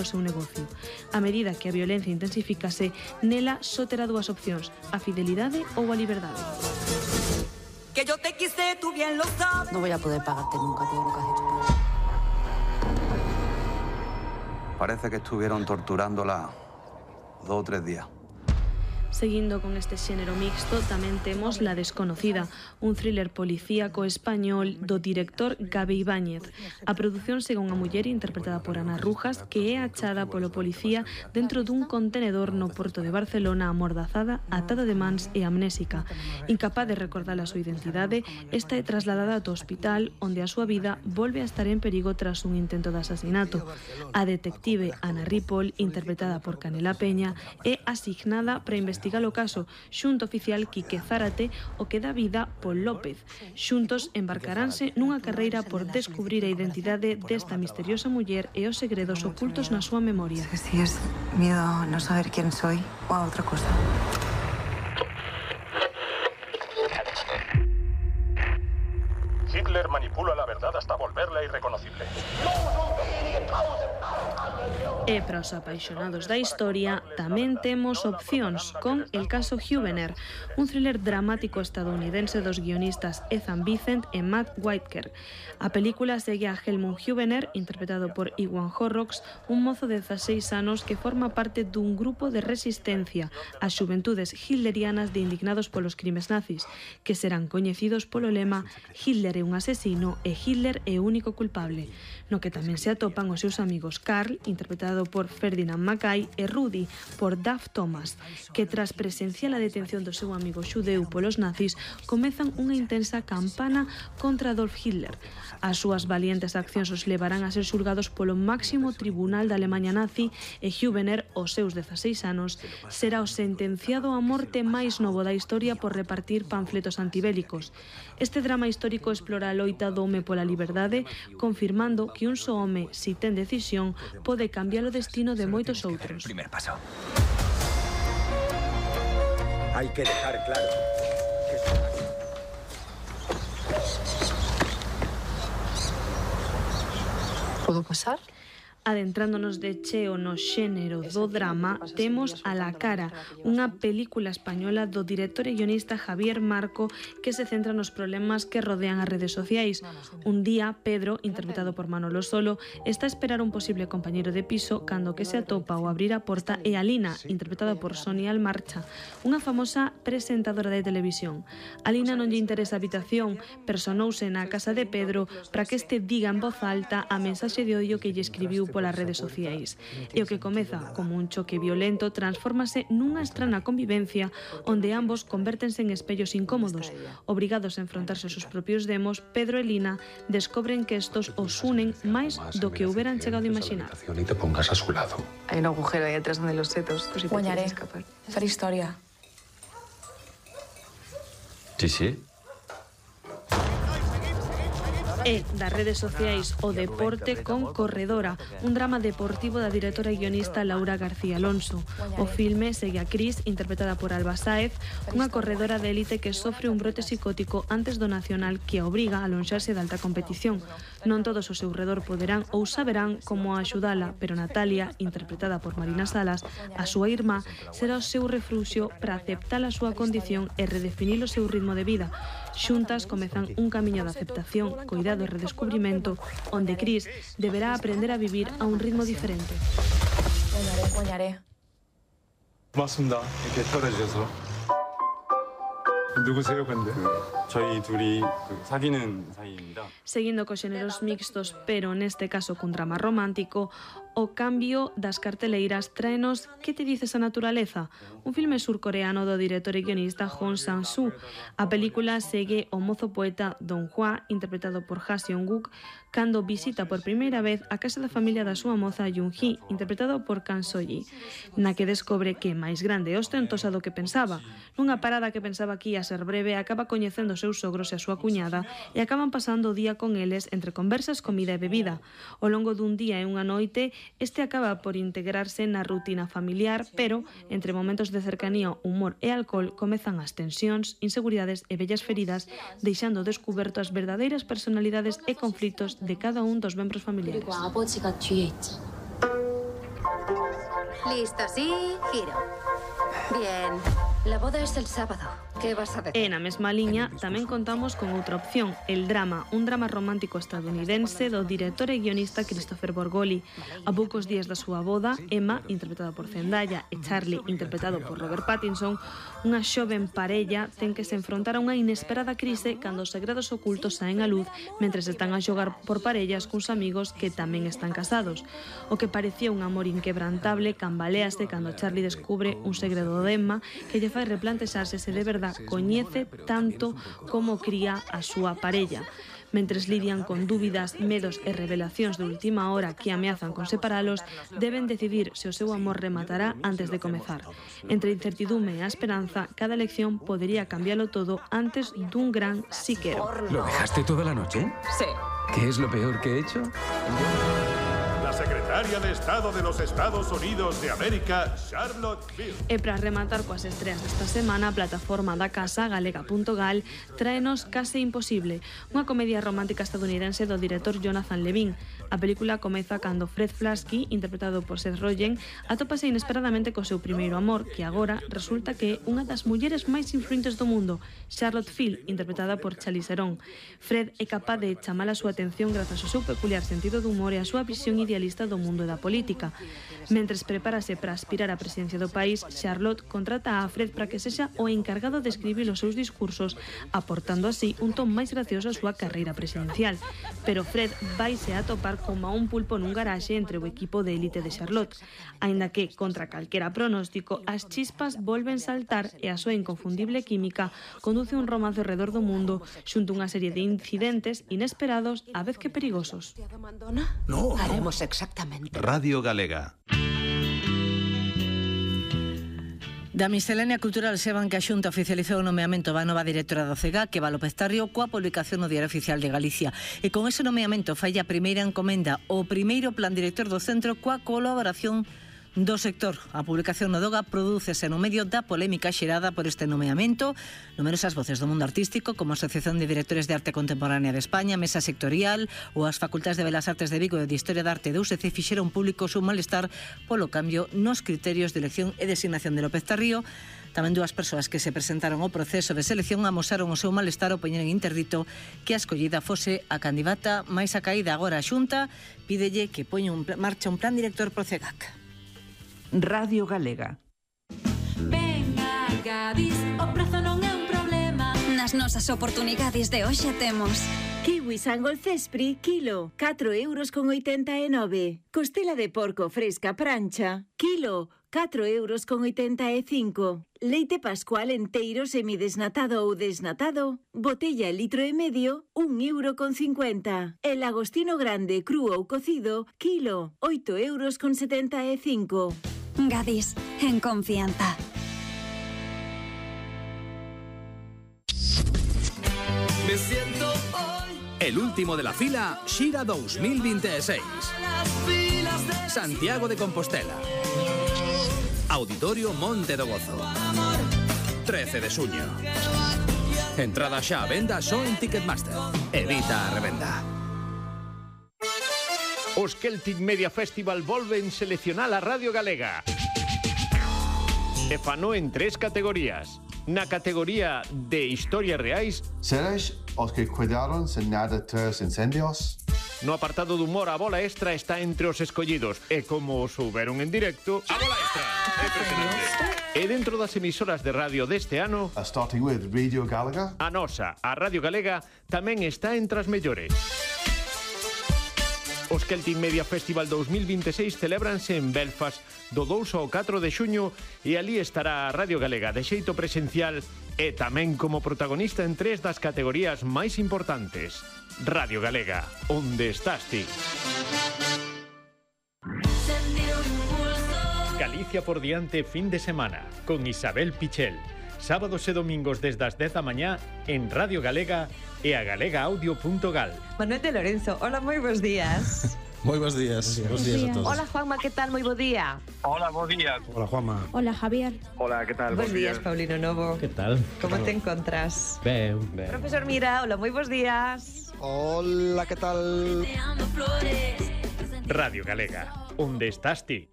o seu negocio. A medida que a violencia intensifícase, nela só terá dúas opcións, a fidelidade ou a liberdade. Que yo te quise, tú bien lo sabes. No voy a poder pagarte nunca todo lo que has hecho. Parece que estuvieron torturándola 2 o 3 días. Seguindo con este xénero mixto, tamén temos La desconocida, un thriller policíaco español do director Gabe Ibáñez. A produción segue unha muller interpretada por Ana Rujas que é achada polo policía dentro dun contenedor no porto de Barcelona amordazada, atada de mans e amnésica. Incapaz de recordar a súa identidade, esta é trasladada ao hospital onde a súa vida volve a estar en perigo tras un intento de asasinato. A detective Ana Ripoll, interpretada por Canela Peña, é asignada para investigar o caso xunto oficial Quique Zárate, o que dá vida Pol López. Xuntos embarcaránse nunha carreira por descubrir a identidade desta misteriosa muller e os segredos ocultos na súa memoria. Si es miedo a no saber quién soy o a otra cosa. Hitler manipula la verdad hasta volverla irreconocible. E para os apaixonados da historia tamén temos opcións con El caso Hubener, un thriller dramático estadounidense dos guionistas Ethan Vincent e Matt Whitaker. A película segue a Helmut Hubener, interpretado por Iwan Horrocks, un mozo de 16 anos que forma parte dun grupo de resistencia ás xuventudes hitlerianas de indignados polos crimes nazis, que serán coñecidos polo lema Hitler é un asesino e Hitler é o único culpable, no que tamén se atopan os seus amigos Karl, interpretado por Ferdinand Mackay, e Rudy, por Duff Thomas, que tras presenciar a detención do seu amigo xudeu polos nazis, comezan unha intensa campana contra Adolf Hitler. As súas valientes accións os levarán a ser xulgados polo máximo tribunal da Alemanha nazi e Hubener, aos seus 16 anos, será o sentenciado a morte máis novo da historia por repartir panfletos antibélicos. Este drama histórico explora a loita do home pola liberdade, confirmando que un só home, si ten decisión, pode cambiar o destino de moitos outros. Primer paso. Hay que dejar claro que ¿Puedo pasar? Adentrándonos de cheo no xénero do drama, temos A la cara, unha película española do director e guionista Javier Marco que se centra nos problemas que rodean as redes sociais. Un día, Pedro, interpretado por Manolo Solo, está a esperar un posible compañeiro de piso cando que se atopa ao abrir a porta é Alina, interpretada por Sonia Almarcha, unha famosa presentadora de televisión. Alina non lle interesa a habitación, personouse na casa de Pedro para que este diga en voz alta a mensaxe de odio que lle escribiu polas redes sociais. E o que comeza como un choque violento transfórmase nunha estrana convivencia onde ambos convértense en espellos incómodos. Obrigados a enfrontarse aos seus propios demos, Pedro e Lina descobren que estos os unen máis do que hubieran chegado a imaginar. y te pongas a su lado. Hay un agujero ahí detrás donde los setos. Pues si te Guanyaré. quieres escapar. Fer història. Sí, sí. E das redes sociais o deporte con Corredora, un drama deportivo da directora e guionista Laura García Alonso. O filme segue a Cris, interpretada por Alba Sáez, unha corredora de élite que sofre un brote psicótico antes do nacional que a obriga a alonxarse de alta competición. Non todos ao seu redor poderán ou saberán como axudala, pero Natalia, interpretada por Marina Salas, a súa irmá, será o seu refluxio para aceptar a súa condición e redefinir o seu ritmo de vida. Xuntas comezan un camiño de aceptación, coidado e redescubrimento, onde Cris deberá aprender a vivir a un ritmo diferente. Guanyaré. 고맙습니다. 이렇게 떨어져서. 누구세요, 근데? 저희 둘이 사귀는 사이입니다. Seguindo cos xéneros mixtos, pero neste caso con drama romántico, o cambio das carteleiras traenos Que te dices a naturaleza? Un filme surcoreano do director e guionista Hong Sang-soo. A película segue o mozo poeta Dong Hwa, interpretado por Ha Seong-guk, cando visita por primeira vez a casa da familia da súa moza Jung-hee, interpretado por Kang So-ji, na que descobre que é máis grande e ostentosa do que pensaba. Nunha parada que pensaba que ia ser breve, acaba coñecendo os seus sogros e a súa cuñada e acaban pasando o día con eles entre conversas, comida e bebida. Ao longo dun día e unha noite, este acaba por integrarse na rutina familiar, pero entre momentos de cercanía, humor e alcohol comezan as tensións, inseguridades e vellas feridas, deixando descuberto as verdadeiras personalidades e conflitos de cada un dos membros familiares. Listo, sí, giro. Bien. La boda es el sábado. ¿Qué vas a decir? E na mesma liña tamén contamos con outra opción, El drama, un drama romántico estadounidense do director e guionista Christopher Borgoli. A poucos días da súa boda, Emma, interpretada por Zendaya, e Charlie, interpretado por Robert Pattinson, unha xoven parella ten que se enfrontar a unha inesperada crise cando os segredos ocultos saen á luz mentres están a xogar por parellas cuns amigos que tamén están casados. O que parecía un amor inquebrantable cambalease cando Charlie descubre un segredo de Emma que lle fai replantexarse se de verdade coñece tanto como cría a súa parella. Mentres lidian con dúbidas, medos e revelacións de última hora que ameazan con separalos, deben decidir se o seu amor rematará antes de comezar. Entre a incertidume e a esperanza, cada elección podería cambiarlo todo antes dun gran sí quero. ¿Lo dejaste toda la noche? Sí. ¿Qué es lo peor que he hecho? La secretaria de Estado de los Estados Unidos de América, Charlotte Bill. E para rematar coas estreas desta semana, a plataforma da casa, galega.gal, tráenos Case Imposible, unha comedia romántica estadounidense do director Jonathan Levine. A película comeza cando Fred Flasky, interpretado por Seth Rogen, atópase inesperadamente co seu primeiro amor, que agora resulta que é unha das mulleres máis influentes do mundo, Charlotte Field, interpretada por Charlize Theron. Fred é capaz de chamar a súa atención grazas ao seu peculiar sentido do humor e a súa visión idealista do mundo e da política. Mentres prepárase para aspirar á presidencia do país, Charlotte contrata a Fred para que sexa o encargado de escribir os seus discursos, aportando así un ton máis gracioso á súa carreira presidencial. Pero Fred vaise a topar como a un pulpo nun garaxe entre o equipo de élite de Charlotte. Aínda que, contra calquera pronóstico, as chispas volven saltar e a súa inconfundible química conduce un romance ao redor do mundo xunto unha serie de incidentes inesperados a vez que perigosos. No. Haremos exactamente. Radio Galega. Da miscelánea cultural seban que a Xunta oficializou o nomeamento da nova directora do CEGA, que va López Tarrio, coa publicación no Diario Oficial de Galicia. E con ese nomeamento fai a primeira encomenda o primeiro plan director do centro coa colaboración do sector. A publicación no Doga prodúcese no medio da polémica xerada por este nomeamento. Numerosas voces do mundo artístico, como a Asociación de Directores de Arte Contemporánea de España, Mesa Sectorial ou as Facultades de Belas Artes de Vigo e de Historia de Arte de UCC fixeron público o seu malestar polo cambio nos criterios de elección e designación de López Tarrio. Tamén dúas persoas que se presentaron ao proceso de selección amosaron o seu malestar ao poñer en interdito que a escollida fose a candidata máis acaída. Agora a Xunta pídelle que poña en marcha un plan director pro CEGAC. Radio Galega. Venga, Gadis, o prazo non é un problema. Nas nosas oportunidades de hoxe temos kiwi Sangol Cespri, kilo, 4,89 €. Costela de porco fresca prancha, kilo, 4,85 €. Leite pascual enteiro semidesnatado ou desnatado, botella litro e medio, 1,50 €. El agostino grande cru ou cocido, kilo, 8,75 €. Gadis, en confianza. Me siento hoy. El último de la fila, Xira 2026. Santiago de Compostela. Auditorio Monte do Gozo. 13 de xuño. Entrada xa a venda só en Ticketmaster. Evita a revenda. Os Celtic Media Festival volven seleccionar a Radio Galega. E fano en 3 categorías. Na categoría de historias reais, Seres os que cuidaron sen nada tras incendios. No apartado de humor, a bola extra está entre os escollidos. E como souberon en directo, a bola extra é impresionante. E dentro das emisoras de radio deste ano, Starting with Radio Galega, a nosa, a Radio Galega, tamén está entre as mellores. Os Celtic Media Festival 2026 celébranse en Belfast do 2 ao 4 de xuño e ali estará a Radio Galega de xeito presencial e tamén como protagonista en 3 das categorías máis importantes. Radio Galega, onde estás ti? Galicia por diante fin de semana con Isabel Pichel. Sábados e domingos desde as 10 da mañá en Radio Galega e a galegaaudio.gal. Manuel de Lorenzo, hola, moi bons días. Moi bons días. Bons días a todos. Hola, Juanma, que tal? Moi bo día. Hola, bo día. Hola, Juanma. Hola, Javier. Hola, que tal? Bons días, Paulino Novo. Que tal? Como te encontras? Ben. Profesor Mira, hola, moi bons días. Hola, que tal? Radio Galega, onde estás ti?